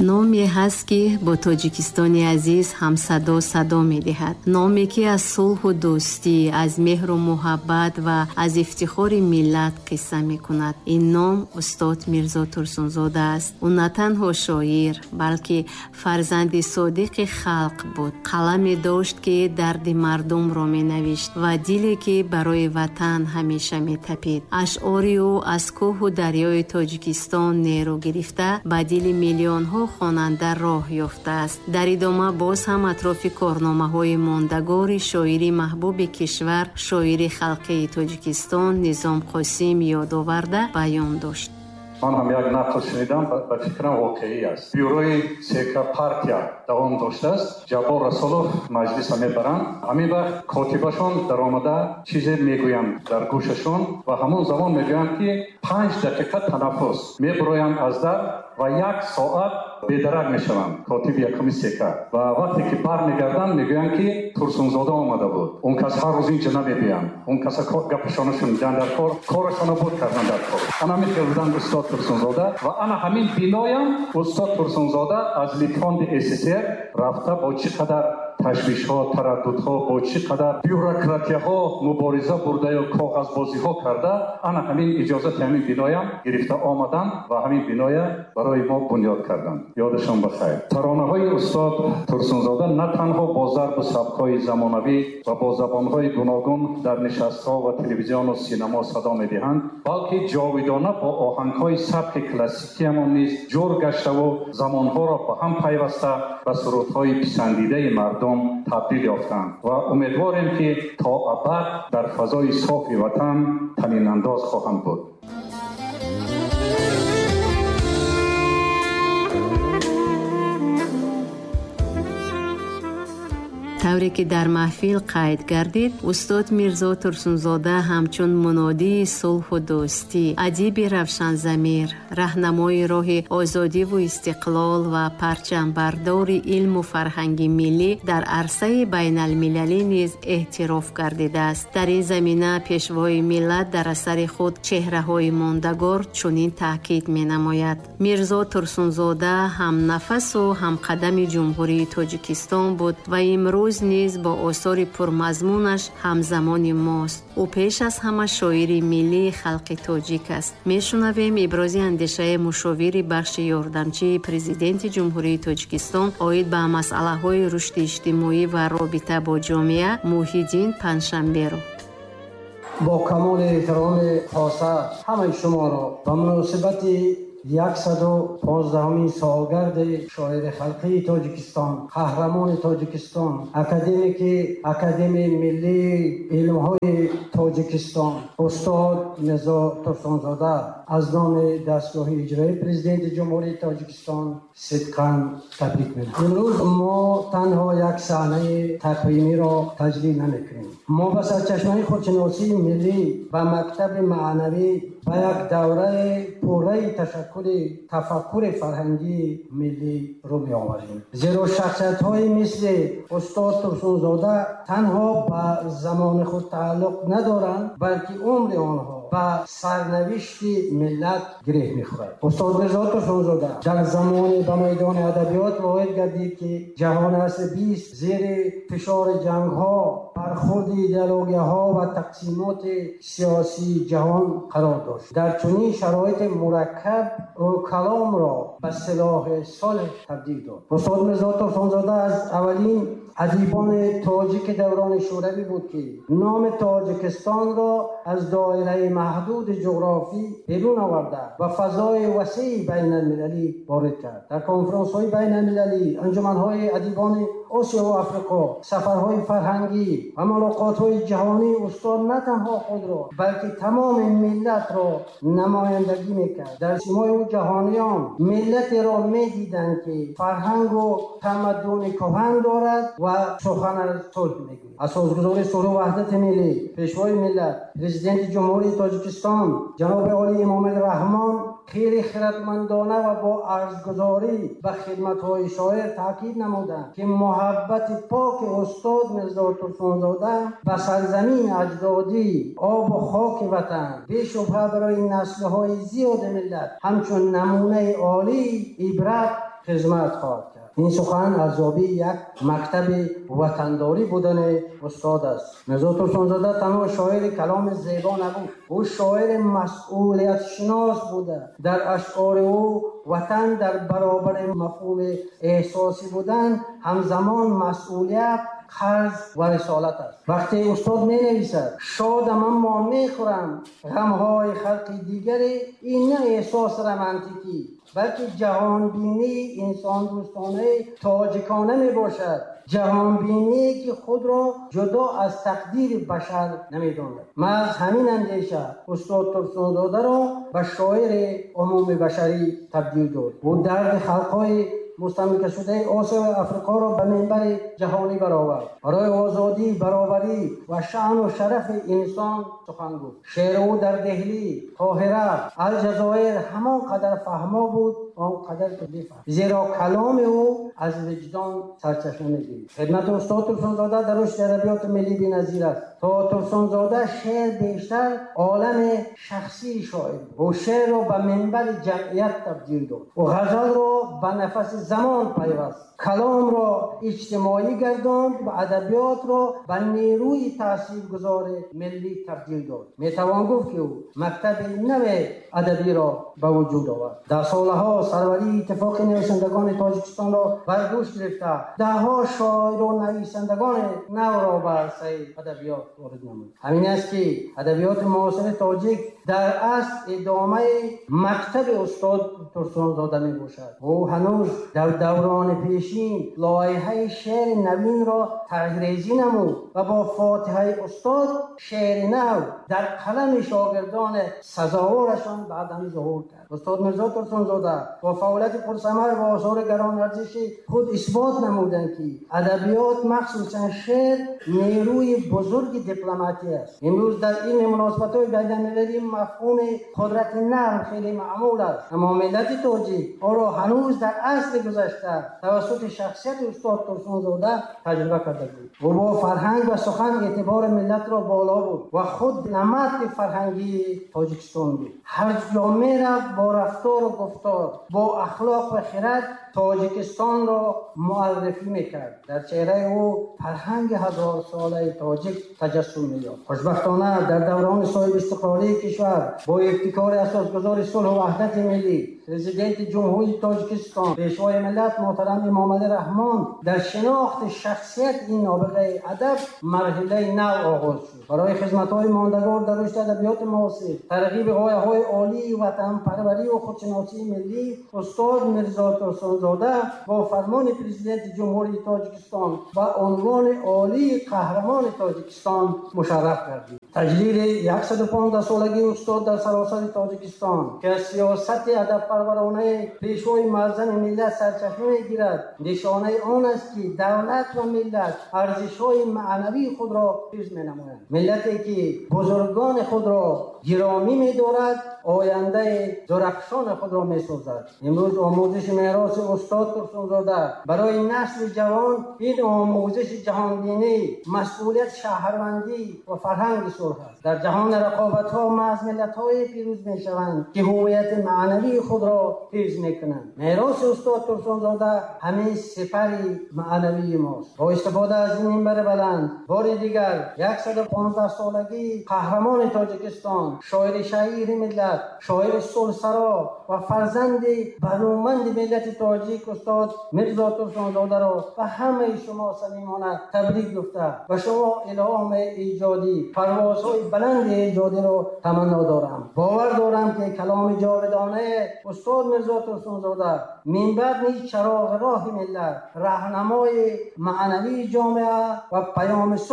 Номе ҳаст, ки бо Тоҷикистони азиз ҳамсадо садо медиҳад. Номе, ки аз сулҳу дӯстӣ, аз меҳру муҳаббат ва аз ифтихори миллат қисса мекунад. Ин ном устод Мирзо Турсунзода аст. Ӯ на танҳо шоир, балки фарзанди содиқи халқ буд. Қаламе дошт, ки дарди мардумро менавишт ва диле, ки барои ватан ҳамеша метапид. Ашъори ӯ аз кӯҳу дарёи Тоҷикистон нерӯ гирифта, ба дили миллионҳо хонанда роҳ ёфтааст. Дар идома боз ҳам атрофи корномаҳои мондагори шоири маҳбуби кишвар, шоири халқии Тоҷикистон Низом Қосим ёдоварда баён дошт. Ман ҳам як нақл шунидам, ба фикрам воқеӣ аст. Бюрои ЦК партия давом доштааст. Ҷаббор Расулов маҷлиса мебаранд. Ҳамин вақт котибашон даромада чизе мегӯянд дар гӯшашон ва ҳамон замон мегӯянд, ки 5 дақиқа танаффус. Мебуроянд аз дар ва як соат бедарак мешаванд котиби якуми ЦК. Ва вақте ки бармегарданд, мегӯянд, ки Турсунзода омада буд. Он кас ҳар рӯз инҷа намебиёнд. Он каса гапашонро шуниданд дар кор, корашонро буд карданд дар кор. Ана ҳамин хел буданд устод Турсунзода ва ана ҳамин биноям устод Турсунзода аз Литфонди СССР рафта бо чӣ қадар ташвишҳо, тараддудҳо, бо чӣ қадар бюрократияҳо мубориза бурда ё коғазбозиҳо карда, ана ҳамин иҷозати ҳамин биноям гирифта омаданд ва ҳамин биноя барои мо бунёд карданд. Ёдашон ба хайр. Таронаҳои устод Турсунзода на танҳо бо зарбу сабкҳои замонавӣ ва бо забонҳои гуногун дар нишастҳо ва телевизиону синамо садо медиҳанд, балки ҷовидона бо оҳангҳои сабки классикиамон низ ҷур гаштаву замонҳоро ба ҳам пайваста ба сурудҳои писандидаи мардум табдил ёфтанд ва умедворем, ки то абад дар фазои софи ватан танинандоз хоҳанд буд. Тавре ки дар маҳфил қайд гардид, устод Мирзо Турсунзода ҳамчун мунодии сулҳу дӯстӣ, адиби равшанзамир, раҳнамои роҳи озодиву истиқлол ва парчамбардори илму фарҳанги миллӣ дар арсаи байналмилалӣ низ эътироф гардидааст. Дар ин замина пешвои миллат дар асари худ чеҳраҳои мондагор чунин таъкид менамояд: Мирзо Турсунзода ҳамнафасу ҳамқадами Ҷумҳурии Тоҷикистон буд ва имрӯз низ бо осори пурмазмунаш ҳамзамони мост. Ӯ пеш аз ҳама шоири миллии халқи тоҷик аст. Мешунавем ибрози андешаи мушовири бахши ёрдамчии Президенти Ҷумҳурии Тоҷикистон оид ба масъалаҳои рушди иҷтимоӣ ва робита бо ҷомеа Муҳиддин Панҷшанберо. Бо камоли эҳтироми хоса ҳамаи шуморо ба муносибати 115-умин солгарди шоири халқии Тоҷикистон, қаҳрамони Тоҷикистон, академики Академияи миллии илмҳои Тоҷикистон устод Мирзо Турсунзода аз номи дастгоҳи иҷроии Президенти Ҷумҳурии Тоҷикистон сидқан табрик менамоям. Имрӯз мо танҳо як саҳнаи тақвимиро таҷлил намекунем. Мо ба сарчашмаи худшиносии миллӣ, ба мактаби маънавӣ, ба як давраи пурраи ташаккули тафаккури фарҳангии миллӣ рӯ меоварем. Зеро шахсиятҳои мисли устод Турсунзода танҳо ба замони худ тааллуқ надоранд, балки умри онҳо ба сарнавишти миллат гиреҳ мехӯрад. Устод Мирзо Турсунзода дар замоне ба майдони адабиёт ворид гардид, ки ҷаҳони асри 20 зери фишори ҷангҳо, бархурди идеологияҳо ва тақсимоти сиёсии ҷаҳон қарор дошт. Дар чунин шароити мураккаб ӯ каломро ба силоҳи сулҳ табдил дод. Устод Мирзо Турсунзода аз аввалин адибони тоҷики даврони шӯравӣ буд, ки номи Тоҷикистонро аз доираи маҳдуди ҷуғрофӣ берун оварда ба фазои васеи байналмилалӣ ворид кард. Дар конфронсҳои байналмилалӣ, анҷуманҳои адибони Осиё ва Африқо, сафарҳои фарҳангӣ ва мулоқотҳои ҷаҳонӣ устод на танҳо худро, балки тамоми миллатро намояндагӣ мекард. Дар симои ӯ ҷаҳониён миллатеро медиданд, ки фарҳангу тамаддуни кӯҳан дорад ва сухан аз сулҳ мегӯяд. Асосгузори сулҳу ваҳдати миллӣ, пешвои миллат, Президенти Ҷумҳурии Тоҷикистон ҷаноби олии Эмомалӣ Раҳмон хеле хиратмандона ва бо арзгузорӣ ба хидматҳои шоир таъкид намуданд, ки муҳаббати поки устод Мирзо Турсунзода ба сарзамини аҷдодӣ, обу хоки ватан бешубҳа барои наслҳои зиёди миллат ҳамчун намунаи олии ибрат хизмат хоҳад кард. Ин сухан арзёбии як мактаби ватандорӣ будани устод аст. Мирзо Турсунзода танҳо шоири каломи зебо набуд, ӯ шоири масъулиятшинос буда. Дар ашъори ӯ ватан дар баробари мафҳуми эҳсосӣ будан ҳамзамон масъулият, қарз ва рисолат аст. Вақте устод менависад: «Шодам, аммо мехӯрам ғамҳои халқи дигаре», ин на эҳсоси романтикӣ, балки ҷаҳонбинии инсондӯстонаи тоҷикона мебошад, ҷаҳонбиние ки худро ҷудо аз тақдири башар намедонад. Маҳз ҳамин андеша устод Турсунзодаро ба шоири умумибашарӣ табдил дод. Ӯ дарди халқҳои мустамликашудаи Осиё ва Африқоро ба минбари ҷаҳонӣ баровард, барои озодӣ, баробарӣ ва шаъну шарафи инсон сухан гуфт. Шеъри ӯ дар Деҳлӣ, Қоҳира, Алҷазоир ҳамон қадар фаҳмо буд, он қадар ки бифаҳм, зеро каломи ӯ аз виҷдон сарчашма мегирифт. Хидмати устод Турсунзода дар рушди адабиёти миллӣ беназир аст. То Турсунзода шеър бештар олами шахсии шоир буд. Ӯ шеърро ба минбари ҷамъият табдил дод. Ӯ ғазалро ба нафаси замон пайваст, каломро иҷтимоӣ гардонд ва адабиётро ба нерӯи таъсиргузори миллӣ табдил дод. Метавон гуфт, ки ӯ мактаби нави адабиро ба вуҷуд овард. Дар солаҳо сарварии Иттифоқи нависандагони Тоҷикистонро бар дӯш гирифта, даҳҳо шоиру нависандагони навро ба арсаи адабиёт ворид намуд. Ҳамин аст, ки адабиёти муосири тоҷик дар асл идомаи мактаби устод Турсунзода мебошад. Ӯ ҳанӯз дар даврони пешин лоиҳаи шеъри навинро тарҳрезӣ намуд ва бо фотиҳаи устод шеъри нав дар қалами шогирдони сазоворашон баъдан зуҳур кард. Устод Мирзо Турсунзода бо фаъолияти пурсамар ва осори гаронарзиши худ исбот намуданд, ки адабиёт, махсусан шеър, нерӯи бузурги дипломатия аст. Имрӯз дар илми муносибатҳои байналмилалӣ мафҳуми қудрати нарм хеле маъмул аст, аммо миллати тоҷик онро ҳанӯз дар асри гузашта тавассути шахсияти устод Турсунзода таҷриба карда буд. Ӯ бо фарҳанг ва сухан эътибори миллатро боло бурд ва худ намади фарҳангии Тоҷикистон буд. Ҳар ҷо мерафт, бо рафтору гуфтор, бо ахлоқ ва хирад Тоҷикистонро муаррифӣ мекард. Дар чеҳраи ӯ фарҳанги ҳазорсолаи тоҷик таҷассум меёфт. Хушбахтона, дар даврони соҳибистиқлолии кишвар бо ибтикори асосгузори сулҳу ваҳдати миллӣ, Президенти Ҷумҳурии Тоҷикистон, Пешвои миллат муҳтарам Эмомалӣ Раҳмон дар шинохти шахсият ин нобиғаи адаб марҳилаи нав оғоз шуд. Барои хизматҳои мондагор дар рушди адабиёти муосир, тарғиби ғояҳои олии ватанпарварию худшиносии миллӣ устод Мирзо Турсунзода бо фармони Президенти Ҷумҳурии Тоҷикистон ба унвони олии Қаҳрамони Тоҷикистон мушарраф гардид. Таҷлили 115-солагии устод дар саросари Тоҷикистон, ки аз сиёсати адабпарваронаи Пешвои муаззами миллат сарчашма мегирад, нишонаи он аст, ки давлат ва миллат арзишҳои маънавии худро ҳифз менамоянд. Миллате, ки бузургони худро гиромӣ медорад, ояндаи дурахшони худро месозад. Имрӯз омӯзиши мероси устод Турсунзода барои насли ҷавон ин омӯзиши ҷаҳонбинӣ, масъулият, шаҳрвандӣ ва фарҳанги сулҳ аст. Дар ҷаҳони рақобатҳо маҳз миллатҳое пирӯз мешаванд, ки ҳуввияти маънавии худро ҳифз мекунанд. Мероси устод Турсунзода ҳамин сипари маънавии мост. Бо истифода аз ин минбари баланд бори дигар 115-солагии қаҳрамони Тоҷикистон, шоири шаҳири миллат, шоири сулҳсаро ва фарзанди бароманди миллати тоҷик устод Мирзо Турсунзодаро ба ҳамаи шумо самимона табрик гуфта, ба шумо илҳоми эҷодӣ, парвозҳои баланди эҷодиро таманно дорам. Бовар дорам, ки каломи ҷовидонаи устод Мирзо Турсунзода минбаъд низ чароғи роҳи миллат, раҳнамои маънавии ҷомеа ва паёми